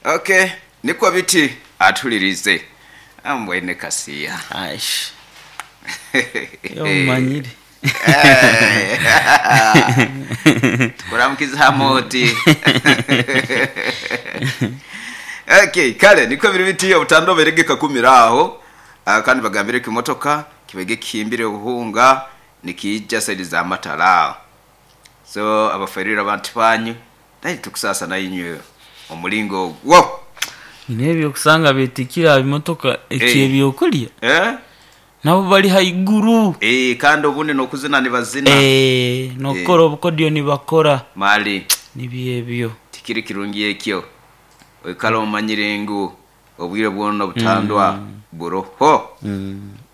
Okay, nikwo biti atuhuliriize mbwene kasiya. Aish. Omanyire. Tukuramukize hamu oti. Okay, kale nikwo biri biti obutanda obairege kakumire aho kandi bagambire ekimotoka kibaire kihimbire obuhunga nikiija saidi za Matara aho. So abaferire abantu banyu naye tukusaasa nainywe omulingo ogwo. Nyine ebyokusanga betikire aha bimotoka eky'ebyokurya Eh? nabo bari haiguru. Eh, kandi obundi n'okuzina nibazina. Eh, n'okukora obukodyo nibakora. Mali. Nibyo ebyo. Tikiri kirungi ekyo. Oikale omanyire ngu obwire bwona obutandwa buroho.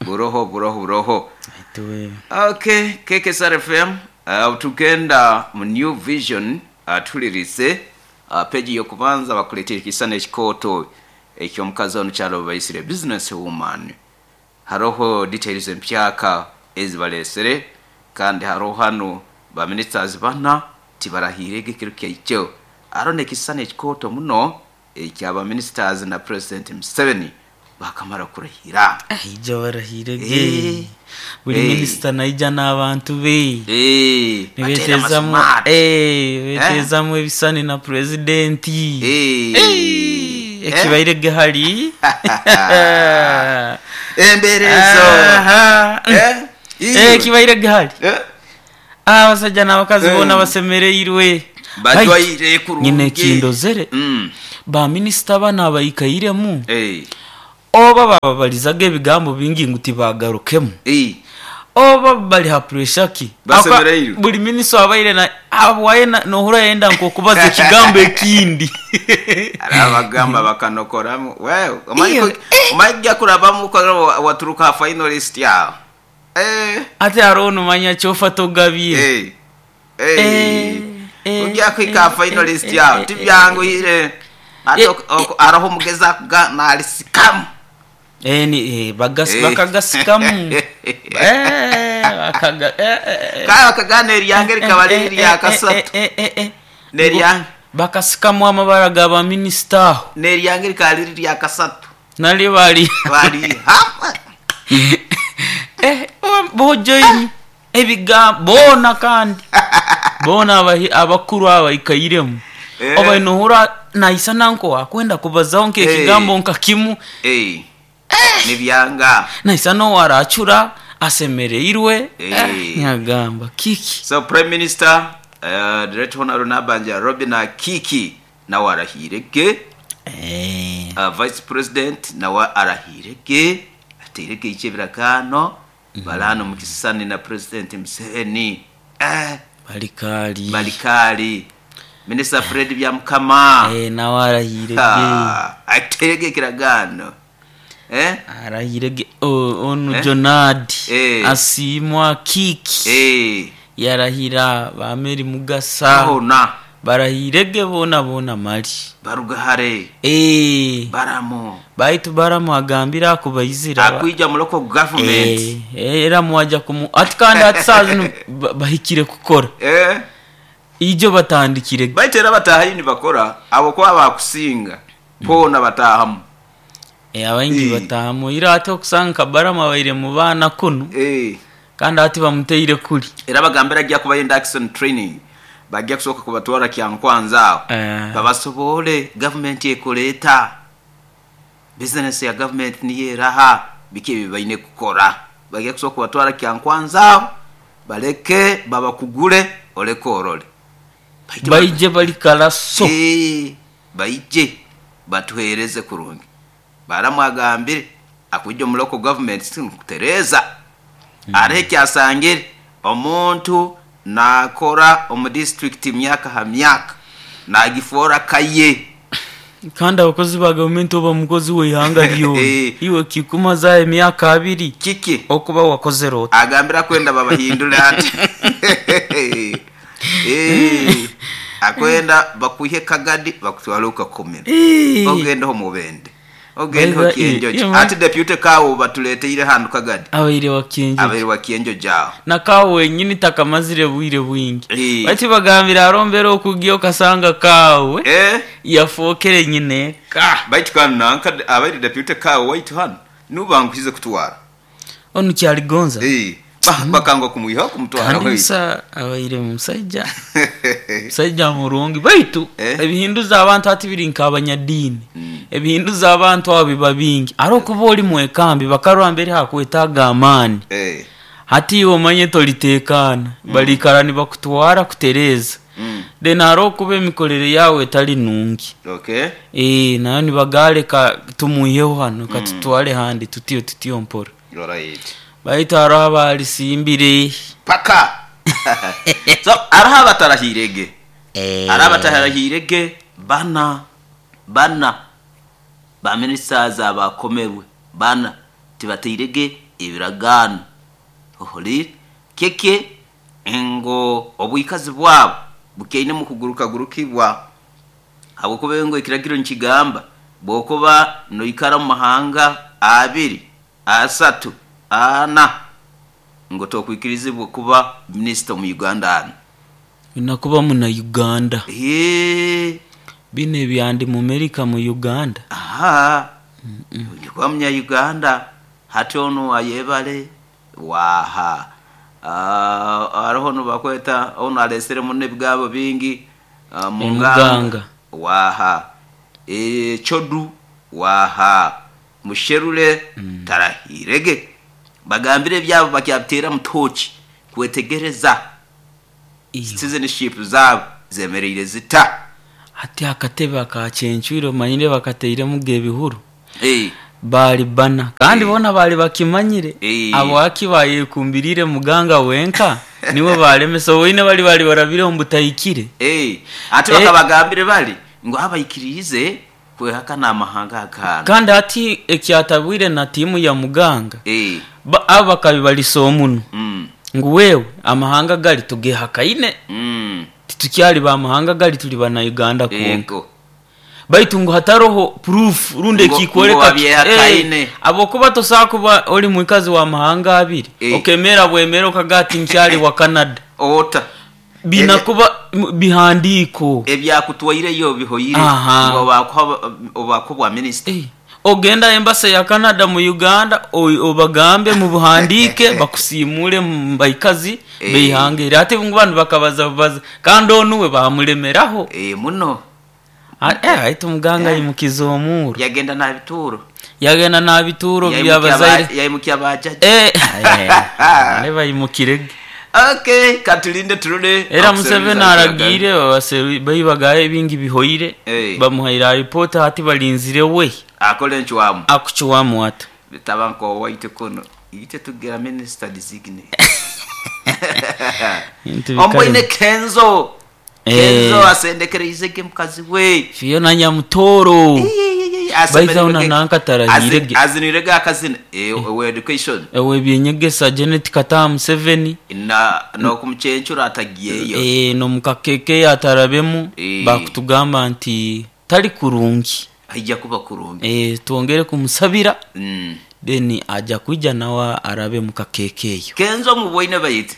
Buroho, buroho, buroho. Aituwe. Okay, KKSR FM, tugenda mu New Vision, tuhulirise peji y'okubanza bakuleetera ekisana ekikooto eky'omukazi onu kyalo baisire business woman. Haroho details empyaka ezibaleesere kandi haroho hanu ba ministers bana tibarahiirege ekiro kyaikyo. Haroho n'ekisana ekikooto muno ekya ba ministers na President Museveni bakamara kurahira. Aija barahirege. Buli minisita naija n'abantu be. Bateera Nibeteezamu amasmart. beteezamu ebisani na purezidenti. Ekibairege hari. Embeera ezo. Aha. Iwe. Ekibairege hari. Abasajja n'abakazi boona basemereirwe. Bajwaire kurungi. Nyine ekindozere. Ba minisita bano abaikairemu oba bababalizaga ebigambo bingi ngu tibagarukemu. Oba bali ha pressure ki? Basemereirwe. Buli minisita abaire na abwaye nohura yenda nk'okubaza ekigambo ekindi. Arabagamba bakanokoramu. Wewe, Iyo, omanyi kujja kurabamu ukora waturuka ha finalist yawe. Ate hariho nomanya kyofa togabire. Ojja kuhika ha finalist yawe tibyanguhire. Ate hariho omugezi akuga nalisikamu. Ni bakagasikamu. Bakaga Kale bakagana eryange rikaba riri erya kasatu. Neryange. Bakasikamu amabara ga ba minisita aho. Neryange rikaba riri erya kasatu. Nari bari. Bari hapa. Bojoini ebigambo boona kandi. Boona abakuru abaikairemu. Oba nohura naisa nanko akwenda kubazaho nk'ekigambo nka kimu. Nibyanga. Naisa n'owaracura asemereirwe. Nyagamba kiki. So Prime Minister Director Honorable Nabanja Robin Kiki nawe arahirege. Vice President nawe arahirege. Ateirege ekyebirakano. Balano mukisani na President Museveni. Balikali. Balikali. Minister Fred Byamukama. Nawe arahirege. Ateirege ekiragano. Arahirege. Onu Jonadi. Asimwa Kiki. Yarahira ba Mary Mugasa. Bona. Barahirege bona bona mali. Barugahare. Baramo. Baitu Baramo agambira akubaizira. Akwija mu local government. Era muwaja kumu ati kandi ati saa zino bahikire kukora. Ijo batandikire. Baitu era batahayo nibakora abo kuba bakusinga bona batahamu. Abaingi batahamu ira ate okusanga nka Baramo abaire mu baana kunu. Kandi ati bamuteire kuli. Era bagambira ajja kuba induction training. Bajja kusooka kubatwara Kyankwanzi aho. Babasobole government ekoleeta. Business ya government niyo eraha biki ebi baine kukora. Bajja kusooka kubatwara Kyankwanzi aho baleke babakugure oleke orole. Baije bali kalaso. Baije batuhereze kurungi. Baramu agambire akujja mu local government kutereza. Arehe kyasangire omuntu nakora omu district myaka ha myaka nagifora kaye. Kandi abakozi ba gavumenti oba mukozi w'eihanga ryona. Iwe kikumaza emyaka abiri. Kiki? Okuba wakozere oti. Agambira kwenda babahindure ati. Akwenda bakwihe kagadi bakutwale ukakomera. Ogendeho mubende. Ogende Baiza- Kyenjojo. Ati deputy kawo batuleteire handu kagadi. Abaire wa Kyenjojo. Abaire wa Kyenjojo aho. Nakawo wenyini takamazire bwire bwingi. Eh. Bati bagambira arombera okugiya okasanga kawe yafookere nyine ka. Baitu kanu nanka abaire deputy kawo waitu hano nubanguhize kutwara. Onu kyaligonza. Bakanga kumwiha kumutwara. Kandi Hoi. musa abaire musajja. Musajja murungi baitu ebihinduza abantu ati biri nk'abanyadiini. Ebihinduza abantu abo biba bingi. Ari okuba ori mwekambi bakarwa mbere hakwetaaga amaani. Hati iwe omanye toliteekaana. Balikara nibakutwara kutereeza. Then hari okuba emikorere yawe etali nungi. Nayo nibagareka tumuiheho hano katutware handi tutiyo tutiyo mpora. Baitu hariho abarisimbire. Paka. So hariho abatarahirege. Hariho abatarahirege bana bana ba ministers abakomerwe bana tibateirege ebiragaano. Ohorire keke ngo obwikazi bwabo bukeine mu kugurukagurukibwa habwokuba ngo ekiragiro nkigamba bwokuba noikara mu mahanga 2 3 4 ngo tokwikirizibwa kuba minister mu Uganda hano. Nakuba muna Uganda. Bine byandi mu Amerika mu Uganda. Aha. Ndikuba munya Uganda hati ono ayebale waha. Hariho no bakweta ono alesere muno ebigabo bingi Muganga. Waha. Chodu waha. Musherule tarahirege. Bagambire byabo bakyabitera mutoki kwetegereza. Citizenship zabo zemereire zita. Hati akatebe akachenchwiro manyire bakateire muge bihuru. Bali bana kandi bona bali bakimanyire. Abo akibaye kumbirire muganga wenka niwe balemesa woine bali bali barabire ombutayikire. Ati bakabagambire bali ngo abayikirize kwehaka namahanga akana. Kandi ati ekyatabwire na timu ya muganga. Aba kabibaliso omuno. Ngu wewe amahanga gali tugehakaine. Titukyali ba mahanga gali tuli bana Uganda konka. Baitu ngu hataroho proof runde kikoleka abokuba tosakuba oli mwikazi wa mahanga abiri. Okemera bwemera okagati nkyali wa Canada. Ota binakuba bihandiko ebyakutwaire yo bihoyire ngo obakubwa minister. Ogenda embassy ya Canada mu Uganda obagambe mu buhandike bakusimule mbaikazi beihangere ate ngu bantu bakabaza baza kandi onuwe bamulemeraho. Muno. Aitu muganga yimukiza omuro. Yagenda na bituro. Yagenda na bituro byabazaire. Yayimukiya bajaji. Neba yimukirege. Okay, katulinde turule. Era Museveni aragire bayibagaye bingi bihoyire. Bamuhaira report hati balinzire we. Akole nchwamu. Akuchwamu ata. Bitabanko waite kono. Ite tugera minister designate. Omboine Kenzo. Kenzo asendekereizege mukazi we. Fiona Nyamutoro. Baiza una nanka tarahirege. Azinirega akazina we education. Ewe byenyegesa Janet Kataha Museveni. Na no kumuchenchura atagiyeyo. No mukakeke atarabemu bakutugamba nti tali kurungi. Haija kuba kurungi. Tuongere kumusabira. Then aja kuja nawa arabe mukakekeyo. Kenzo muboine bayite.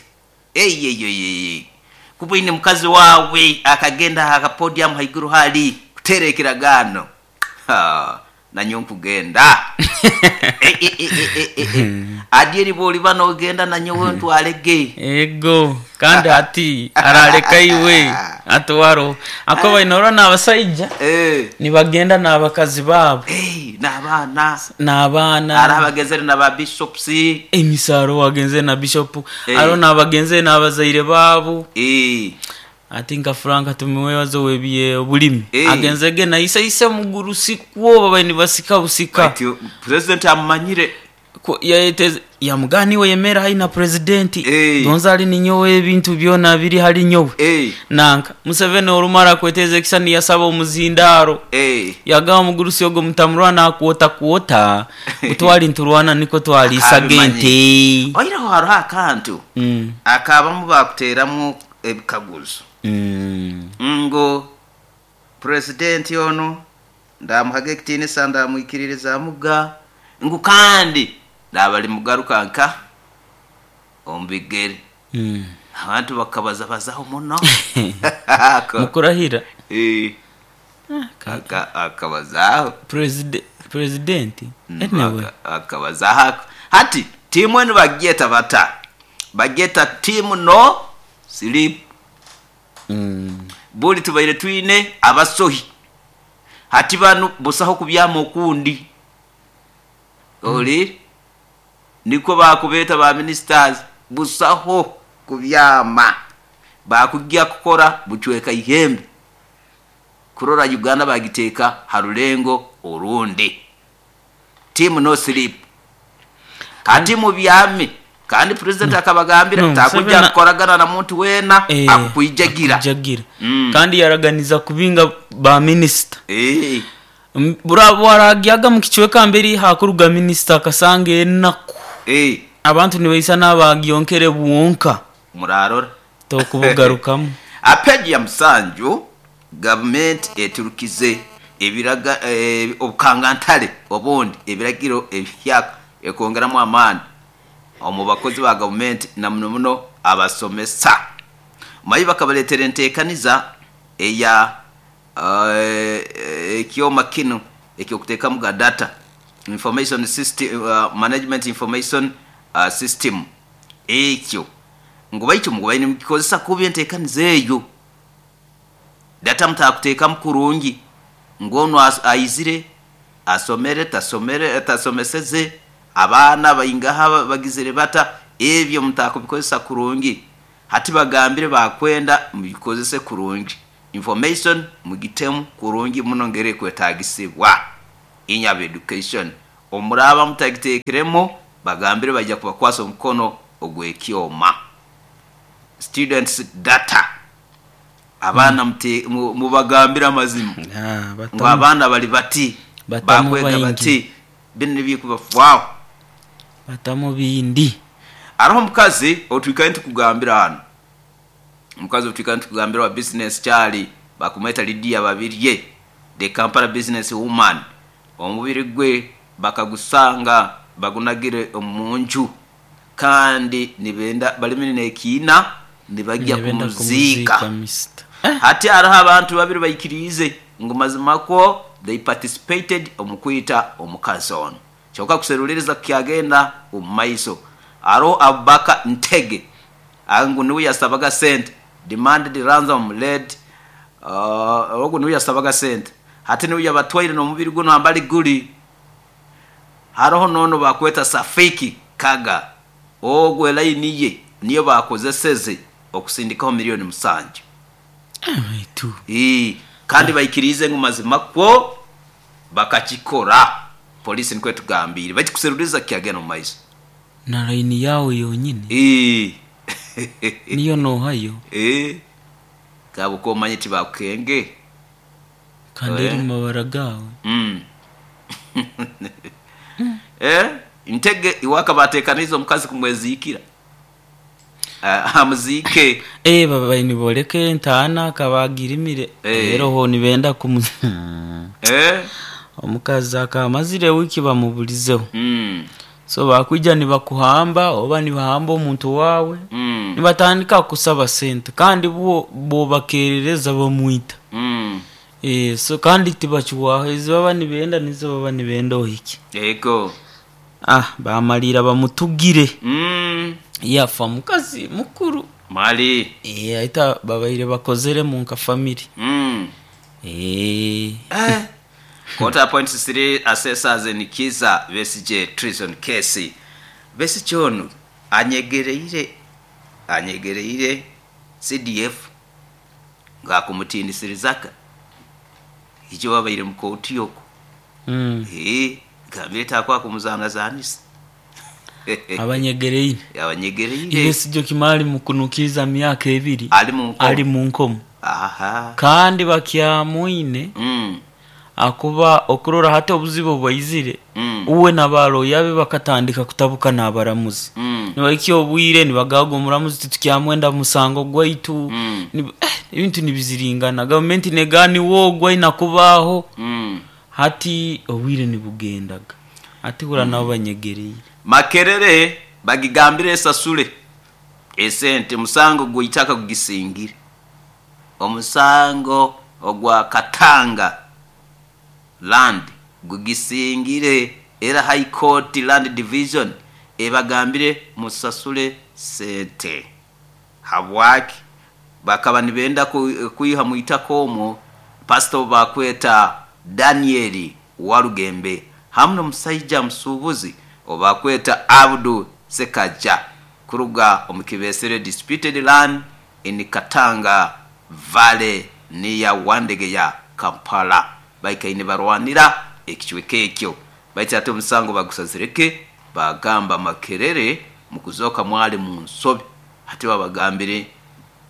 Kuboine mukazi wawe akagenda aka podium haiguru hali kuterekiragano. Na nkugenda. Adieri boli bano ogenda na nyowe ntwalege. Ego kandi ati araleka iwe atwaro akoba inora n'abasaija nibagenda n'abakazi babo n'abana n'abana arabagezere n'aba bishops emisaro wagenze na bishop aro n'abagenze n'abazaire babo ati nka Frank tumiwebazo webiye obulimi agenzege na isa isa muguru sikwo baba nibasika busika. Ati president amanyire yayeteze yamugani we yemera haina president donza ali ninyowe ebintu byona biri hali nyowe nanka Museveni olumara kweteze kisani yasaba omuzindaro yagaba mugurusi ogo mutamurwana kuota kuota utwali nturwana niko twali isagente oiraho haro akantu akabamu bakuteramu ebikaguzo ngo president ono Ndamuhaga ekitiinisa, ndamwikiririzaamuga ngu kandi naabalimugaruka nka omu bigere. Abantu bakabazabazaho muno. Mukurahira. Eh, akabazaaho. Purezidenti anyway. Akabazaaho ako. Hati tiimu enu bagyeta bata? Bagyeta tiimu no sleep. Buli tubaire twine abasohi. Hati banu busaho kubyama okundi. Ohuriire? Nikwo baakubeeta ba ministers. Busaho kubyama. Baakugya kukora bucweka ihembe kurora Uganda baagiteeka ha rulengo orundi. Team no sleep. Hati mubyame. Kandi Purezidenti akabagambira No, takugya Museveni kukoragana na muntu weena Eh, akukwijagira. akujagira. Kandi yaraganiza kubinga ba minisita. Eh. Bwaragyaga mu kicweka mberi hakuruga minisita akasanga enaku. Eh. Abantu nibaisa n'abagyonkere bwonka. Murarora. Tokubugarukamu. Apeji ya musanju gavumenti eturukize ebiraga obukangantare obundi ebiragiro ebihyaka ekwongeramu amaani omu bakozi ba gavumenti na muno muno abasomesa. Mayi bakabareetera enteekaniza eya ekyoma kinu eky'okuteekamu ga data information system, management information system ekyo ngu baitu mubaire nimukikozesa kubi enteekaniza eyo. Data mutakuteekamu kurungi ngu onu aizire asomere tasomere tasomeseze abaana baingaha bagizire bata ebyo mutakubikozesa kurungi. Hati bagambire bakwenda mubikozese kurungi. Information mugitemu kurungi muno ngeri ekwetagisibwa. Inyabo education omuraba mutagiteekeremu bagambire baija kubakwasa omukono ogw'ekyoma. Students data abaana mubagambire amazima. Ngu abaana bali bati, Batamu bakwega baingi. bati, binu nibikubafwaho. Batamu bindi. Hariho omukazi otwikaire nitukugambira hanu. Omukazi otwikaire nitukugambira wa business kyali bakumweta Lydia Babirye, the Kampala business woman. Omubiri gwe bakagusanga bagunagire omu nju kandi nibenda balimire n'ekiina nibajya Nibenda kumuziika. kumuziika, Mister. Hati hariho abantu babiri baikiriize ngu mazima kwo they participated omu kwita omukazi onu. Kyonka kuseruliriza kukyagenda omu maiso. Hariho Abubakar Ntege ngu niwe yasabaga sente demanded ransom led ogu niwe yasabaga sente. Hati niwe yabatwaire n'omubiri guno hambali guri. Hariho n'onu bakweta Safiki Kaga ogwo elaini ye niyo bakozeseze okusindikaho milioni 7. Baitu. Kandi baikiriize ngu mazima kwo bakakikora. Polisi nikwo etugambiire. Baitu kuseruliriza kukyagenda omu maiso. Na laini yawe yonyini. Niyo nohayo. Kaba okomanya tibakukenge. Kandi eri mu mabara gawe. Ntege iwaka bateekaniize omukazi kumweziikira. Amuziike. Baba nibooleka entaana akaba agirimire. Reero ho nibenda kumu Omukazi akaba amazire wiiki bamuburizeho. So bakwija nibakuhamba oba nibahamba omuntu waawe. Nibatandika kusaba sente kandi bwo bobakerereza bamwita. So kandi tibakiwaho ezi baba nibenda nizo baba nibenda ohike. Yego. Bamalira bamutugire. Yafa mukazi mukuru. Mali. Aita babaire bakozeremu nka family. Quarter point three assessors in Kiza Besigye treason case. Besigye onu anyegereire CDF ng'akumutiinisirizaka. Ijo babaire mu kooti okwo. Gambire taakwa kumuzanazanisa. Abanyegereire. Abanyegereire. Besigye kimali mukunukiza myaka ebiri. Ali mu nkomo. Ali mu nkomo. Kandi bakyamwine. Akuba okurora hati obuzibu bwaizire. Uwe n'abaroya be bakatandika kutabuka n'abaramuzi. Nibaikya obwire nibagaga omuramuzi titukyamwenda musango gwaitu. Ebintu nibiziringana. Gavumenti negaani wogwa inakubaho. Hati obwire nibugendaga. Hati hura nabo banyegereire. Makerere bagigambire esasule esente musango gw'eitaka gugisingire. Omusango ogwa Katanga land gugisingire era High Court Land Division ebagambire musasule sente. Habwaki? Bakaba nibenda kwiha mu itaka omwo pasita ou bakweta Daniel Walugembe hamu n'omusaija musuubuzi ou bakweta Abdu Sekaja kuruga omu Kibesere Disputed Land in Katanga Valley near Wandegeya, Kampala. Baikaire nibarwanira ekicweka ekyo baitu hati omusango bagusazire ge baagamba Makerere mukuzooka mwali mu nsobi hati babagambire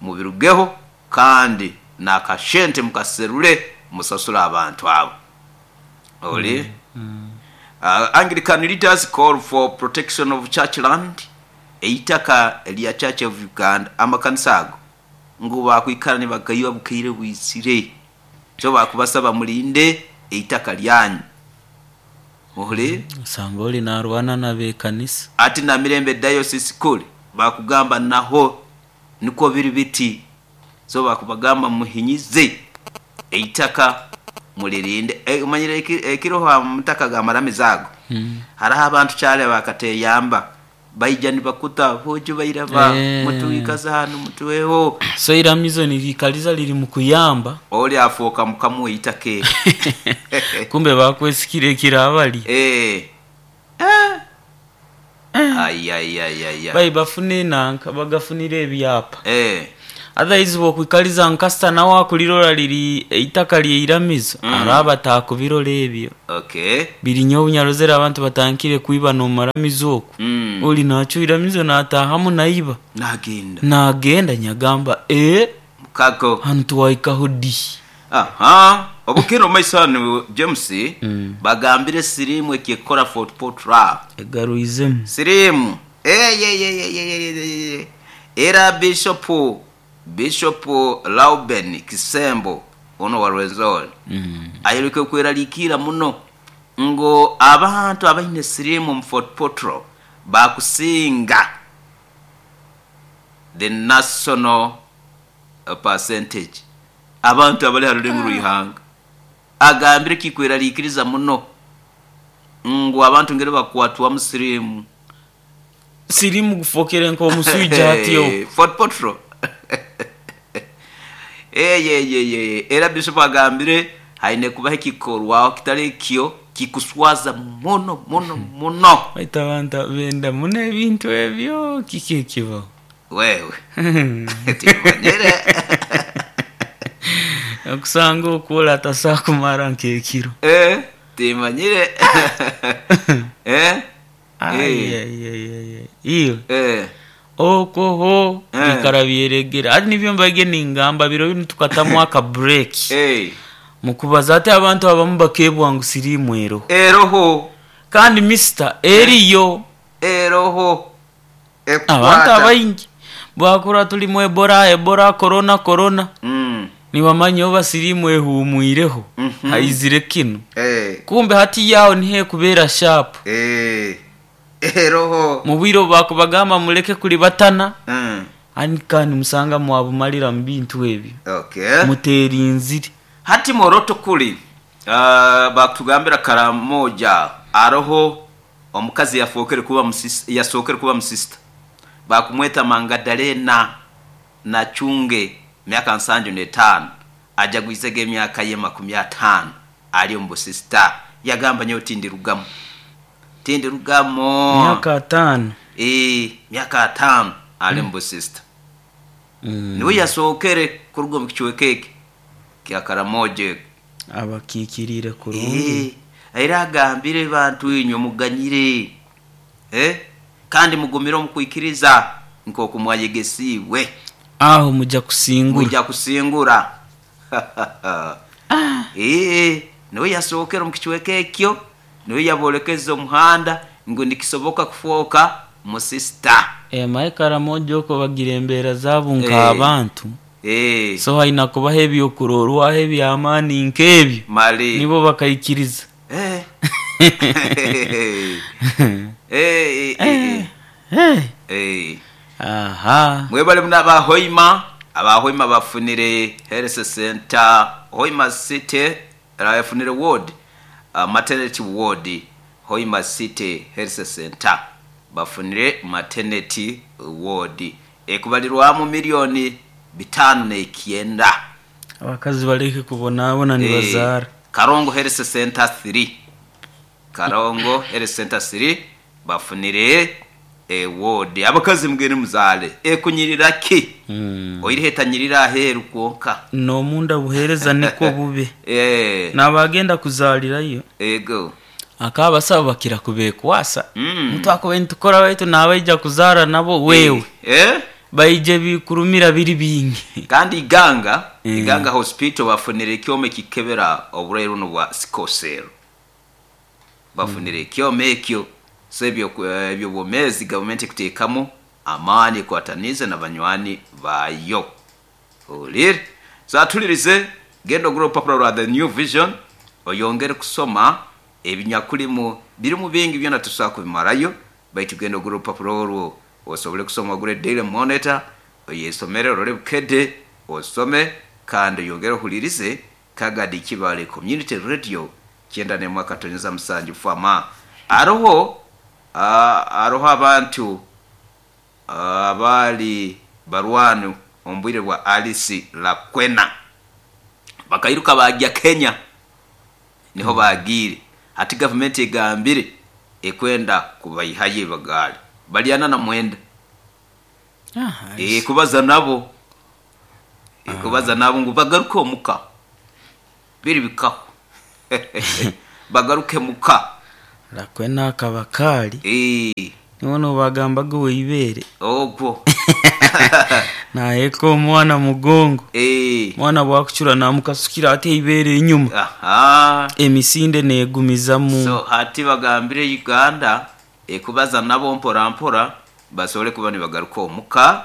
mubirugeho kandi n'akashente mukaserule musasule abantu abo. Oli Anglican leaders call for protection of church land, eitaka erya Church of Uganda amakanisa ago ngu baakwikara nibagaiba bukaire bwizire. Kyo baakubasaba mulinde eitaka lyanyu. Muhulire? Osanga oli naarwana n'abekanisa. Ati Namirembe Diocese kuri baakugamba naho nikwo biri biti. So baakubagamba muhinyize eitaka mulirinde. Omanyire ekiroho aha mutaka g'amaramizo ago, haroho abantu kyali abakateyamba baija nibakuta boojo bairaba mutuikaze hanu mutuweho. So eiramizo niriikaliza riri mu kuyamba. Oli afooka mukama w'eitaka eryo. Kumbe bakwesikire ekirabalya. Eh. Eh. Ayayayaya. Bai bafune enanka bagafunire ebyapa. Eh. Otherwise bwokwikaliza ngu kasita nawe akulirora riri eitaka ly'eiramizo, araba atakubirora ebyo. Okay. Biri nyowe obunyarozere abantu batandikire kwiba n'omumaramizo oku. Oli nacwa eiramizo natahamu naiba. Nagenda. Nagenda nyagamba ee Mukago. hanu twahikaho di? Aha. Obukire omu maiso hanu James, bagambire siriimu ekyekukora Fort Portal. Egarwizemu. Siriimu. Eyeyeyeyeyeyeye. Era Bishop Bishop Lauben Kisembo ono wa Rwenzori ayoreka okweraliikirra muno ngu abantu abaine siriimu omu Fort Portal baakusinga the national percentage abantu abali ha rulengo rw'eihanga. Agambire kikweraliikiriza muno ngu abantu ngeri bakwatwamu siriimu. Siriimu gufokere nk'omuswija hati oku. Fort Portal. Eyeyeyeye era Bishop agambire haine kubaho ekikorwaho kitali ekyo kikuswaza muno muno muno. Baitu abantu benda muno ebintu ebyo, kiki ekibaho? Wewe timanyire. Okusanga okwo ole atasobola kumara nk'ekiro. Eh, timanyire. Eh? Ayayayaya. Iwe. Eh. Okwo ho Eh. bikara byeregere. Hati nibyo mbaige ningamba biro binu tukatamu aka break. Eh. Mukubaza ati abantu abamu bakebwa ngu siriimu eroho. Eroho. Kandi mister eriyo. Eroho. Abantu Ekukwata. abaingi bwakura tulimu Ebola, Ebola, Corona, Corona. Nibamanya oba siriimu ehumwireho. Haizire kinu. Eh. Kumbe hati yaho niho ekubeera sharp. Eh. Eroho. Mu bwire obu bakubagamba muleke kulibatana. Ani kandi musanga mwabumalira mu bintu ebyo. Okay. Muterinzire. Hati moroto kuli bakutugambira Karamoja aroho omukazi yafookere kuba yasookere kuba musista bakumweta Mangadalena Nachunge myaka 75 ajagwizege emyaka ye 50 ali omu busista yagamba nyowe tindirugamu tindirugamu Myaka 5. Myaka 5 ali omu busista. Niwe yasookere kuruga omu kicweka eki kya Karamoja. Abakiikiriire kurungi. Era agambire bantu inywe muganyire. Kandi mugumire omu kwikiriza nk'oku mwayegesiibwe. Aho mujja kusingura. Mujja kusingura. Niwe yasookera omu kicweka ekyo, niwe yaboolekeza omuhanda ngu nikisoboka kufooka musista. Maye Karamoja okwo bagira embeera zaabo nk'abantu. So haina kubaho ebyokurorwaho eby'amaani nk'ebyo Mali nibo bakaikiriza. Aha. Mwebale muno aba Hoima. Aba Hoima bafunire health center Hoima City yafunire ward, maternity ward, Hoima City Health Center bafunire maternity ward ekubalirwamu milioni 59. Abakazi baleke kubonabona nibazaara. Karongo Health Center 3, Karongo Health Center 3 bafunire eward. Abakazi mugende muzaale, ekunyirira ki? Oireho etanyirira aheeru kwonka. N'omunda buheereza nikwo bube. N'abagenda kuzaalirayo. Ego. Akaba abasawo bakira kubekwasa. Mutwakubaire nitukora baitu n'abaija kuzaara nabo wewe. Baije bikurumira biri bingi. Kandi Iganga, Iganga Hospital bafunire ekyoma ekikebera oburwaire buno bwa sickle cell. Bafunire ekyoma ekyo. So ebyo eby'obwomeezi gavumenti ekuteekamu amaani ekwataniize na banywani baayo. Ohuriire? So atulirize, genda ogure orupapura rwa The New Vision oyongere kusoma ebinyakurimu, birimu bingi byona titusobora kubimarayo, baitu genda ogure orupapura orwo osobole kusoma, ogure Daily Monitor oyesomere, orole Bukedde osome, kandi oyongere ohulirize Kagadi Kibale Community Radio 91.7 Fama. Haroho haroho abantu abaali barwani omu bwire bwa Alice Lakwena bakairuka baagya Kenya, niho baagiire. Hati gavumenti egambire ekwenda kubaihayo ebagaali bali 49. Kubaza nabo, kubaza nabo ngu bagaruke omuka, biri bikaho bagaruke muka. Lakwena akaba kaali. Niwe nobagambaga ow'eibeere. Ogwo. Naheeka omwana mugongo. Omwana bwakucura namukasukira ati eibeere enyuma. Emisinde neegumizamu. So hati bagambire Uganda ekubaza nabo mpora mpora basobole kuba nibagaruka omuka,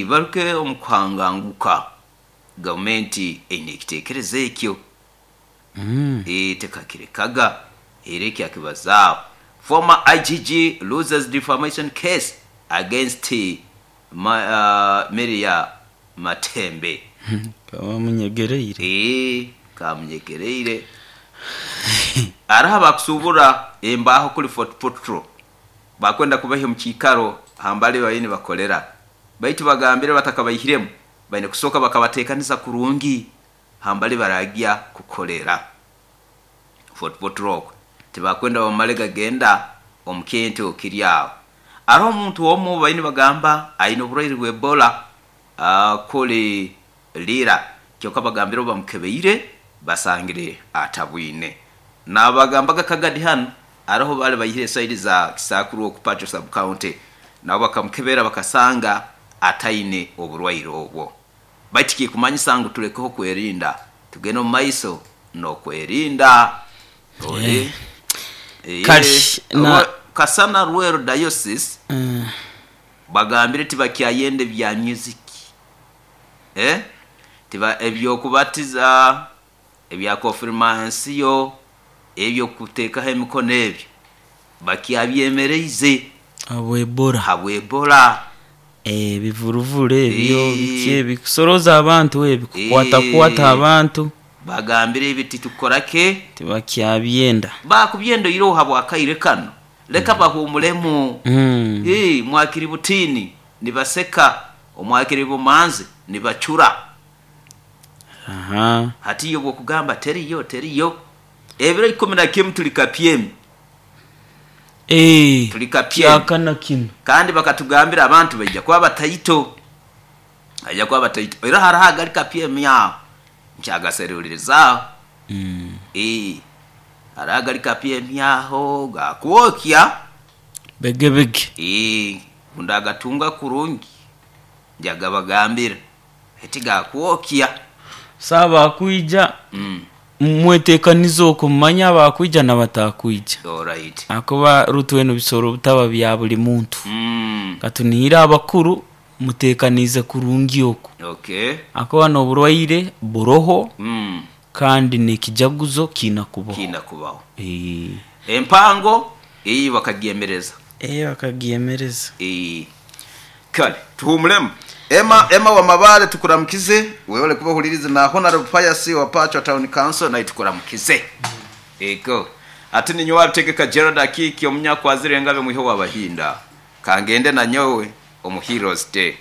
baruke omu kuhanganguka. Gavumenti eine ekiteekerezo ekyo. Tekakirekaga era ekyakibazaaho. Former IGG loses defamation case against Miria Matembe. Kabamunyegereire. Kamunyegereire. Hariho abakusuubura embaaho kuri Fort Portal bakwenda kubaiha omu kiikaro hambali bariyo nibakorera, baitu bagambire batakabaihiremu baine kusooka bakabateekaniza kurungi hambali baragya kukorera Fort Portal okwo. Tibakwenda bamale gagenda omu kintu kiri aho. Hariho omuntu omu bariyo nibagamba aine oburwaire bwa Ebola kuri Lira, kyonka bagambire obu bamukebeire basangire atabwine. Nabagambaga Kagadi hanu hariho bali baihire saidi za Kisakuru oku Pacho sub county, nabo bakamukebera bakasanga ataine oburwaire obwo. Baitu kikumanyisa ngu tulekeho kwerinda, tugende omu maiso n'okwerinda. Ori Kale, na Kasana Rweru Diocese bagambire tibakyayenda ebya music, tiba eby'okubatiza, ebya konfirmansiyo, eby'okuteekaho emikono ebyo bakyabyemereize Habwa Ebola. Habwa Ebola. Ebivuruvuru ebyo biki ebi kusoroza abantu ebi kukwatakwata abantu. Bagambire ebi titukora ke. Tibakyabyenda. Bakubyenda oiroho habwa kaire kano, leka bahuumuremu. Mwakiri butiini nibaseka, omwakiri bumanzi nibacura. Hati iwe obwokugamba teriyo teriyo, ebiro 11 tuli kapyemi. Tuli kapyemi. Kyakana kinu. Kandi bakatugambira abantu baija kuba bataito. Baija kuba bataito. Era hariho agali kapyemi aho. Nkyagaserulirizaaho. Hariho agali kapyemi aho gakwokya. Begebege. Ndagatunga kurungi njagabagambira. Eti gakwokya. Saaba akwija mwetekanize okwo mumanye abakwija n'abatakwija. Ahakuba rutwena ebisoro bitaba bya buli muntu. Katunihire abakuru Muteekaniize kurungi oku. Okay. Akuba n'oburwaire buroho kandi n'ekijaguzo kiina kubaho. Kiina kubaho. Eeh. Empango eyi bakagyemereza. Eeh bakagyemereza. Eeh. Kale tuhuumuremu. Emma, Emma wa Mabaale tukuramukize, webale kuba ohuliriize na Honourable Pius owa Pachwa Town Council naye tukuramukize. Ego. Ati ninyowe Abitegeka Gerald Akiiki omunyakwazire engabi omwihe w'Abahinda. Kangende nanyowe omu Heroes Day.